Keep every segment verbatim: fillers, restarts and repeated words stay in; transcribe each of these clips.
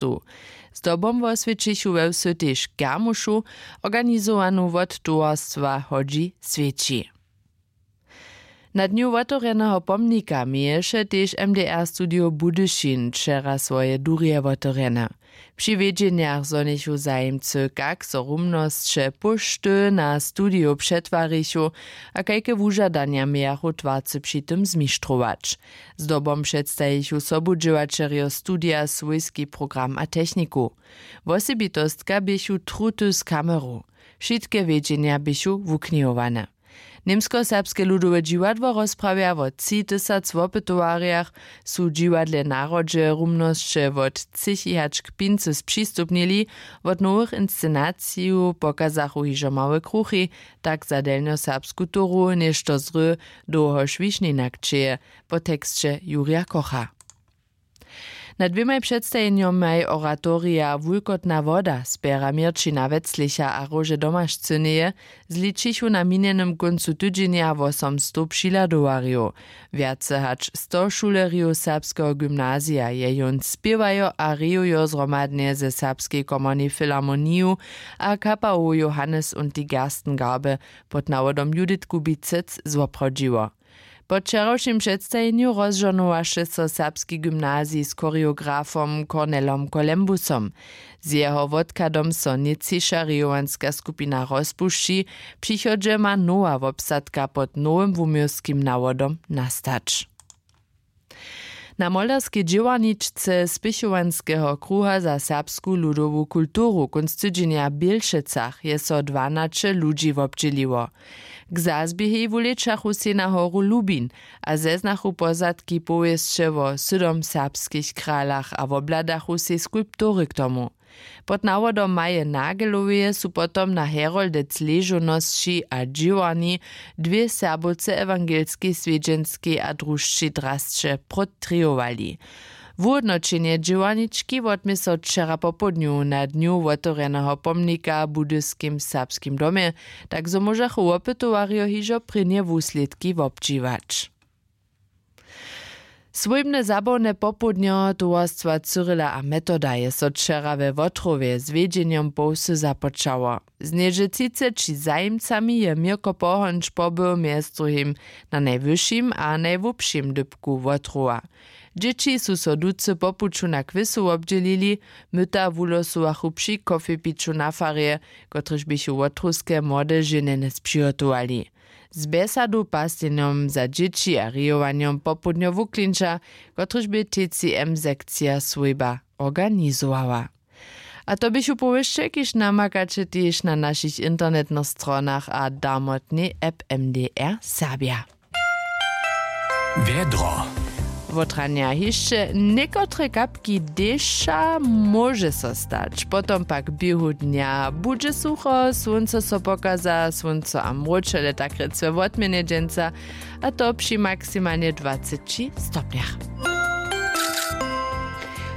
městow. Zdobom woswjećichu we wsy tež kermušu, organizowanu wot towarstwa hodźi swjeći. Na dnju wotewrjeneho pomnika měješe tež mdr studio budyšin wčera swoje durje wotewrjene. Při wjedźenjach zhonichu zajimcy kak so rumnosće póšty na studio přetwarichu, a kajke wužadanja mějachu twarcy při tym zmištrować. Zdobom předstajichu sobudźěłaćerjo studija swójski program a techniku. Wosebitostka běchu truty z kameru. Wšitke wjedźenja běchu wuknihowane. Němskoserbske ludowe dźiwadło rozprawja wo tři tysac wopytowarjach. Su w dźiwadle narodźe rumnosće wot třěchi hač k pincy spřistupnili. Wot nowych inscenacijow pokazachu hižo małe kruchi, tak za delnjoserbsku toru něšto zry, dołhož wišninak čeje. Po teksće jurja kocha. Na dwěmaj předstajenjomaj oratorija wulkotna woda spjera měrćina weclicha a róže domašcyneje zličichu na minjenym kóncu tydźenja wosomstow přihladowarjow. Wjace hač sto šulerjow serbskeho gymnazija je jón spěwajo a rejujo zhromadnje ze serbskej komornej filharmoniju a kapałow johannes und die gerstengarbe pod nawodom judith kubicec zwoprawdźiło. Po wčerawšim předstajenju rozžohnowaše so serbski gymnazij z choreografom cornelom kolembusom. Z jeho wotchadom so nětčiša rejowanska skupina rozpušći. W přichodźe ma nowa wobsadka pod nowym wuměłskim nawodom nastać. Na molerskej dźěłarničce spěchowanskeho kruha za serbsku ludowu kulturu kónc tydźenja w bělšecach je so dwanaće ludźi wobdźěliło. K zazběhej wulečachu sej na horu lubin a zeznachu pozadki powěsće wo sydom serbskich kralach a wobhladachu sej skulptury k tomu. Pod nawodom maje nageloweje su potom na heroldec ležownosći a dźěłarni dwě serbowce ewangelskej swjedźenskej a drušćej drasće protrěhowali. Wuhódnoćenje dźěłarnički wotmě so wčera popołdnju na dnju wotewrjeneho pomnika w budyskim serbskim domje, tak zo móžachu wopytowarjo hižo prěnje wuslědki wobdźěłać. Swójbne zabawne popołdnjo towarstwa cyrila a metoda je so wčera we wotrowje z wjedźenjom po wsy započało. Z něhdźe třiceći zajimcami je měrko pohonč pobył mjez druhim na najwyšim a najhłubšim dypku wotrowa. Dźěći su so ducy po puću na kwěsu wobdźělili. Myta wulosowachu při kofepiću na farje, kotryž běchu wotrowske młode ženjenje spřihotowali. Z bjesadow paslenjom za dźěći a rejowanjom popołdnjo wuklinča, kotryž bě tcm sekcija swójba organizowała. A to běchu powěsće, kiž namakaće tež na našich internetnych stronach a damotnej app mdr serbja. Wjedro. Wotranja hišće někotre kapki dešća móže so stać, potom pak běhu dnja budźe sucho, słónco so pokaza, słónco a mróčele tak rěc we wotměnje dźensa, a to při maksimalnje dwaceći stopnjach.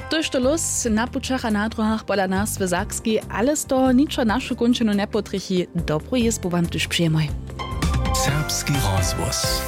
Tójšto lós na pućach a na dróhach pola nas w sakskej, ale z toho ničo našu kónčinu njepotrjechi. Dobru jězbu wam tuž přijemoj. Serbski rozhłos.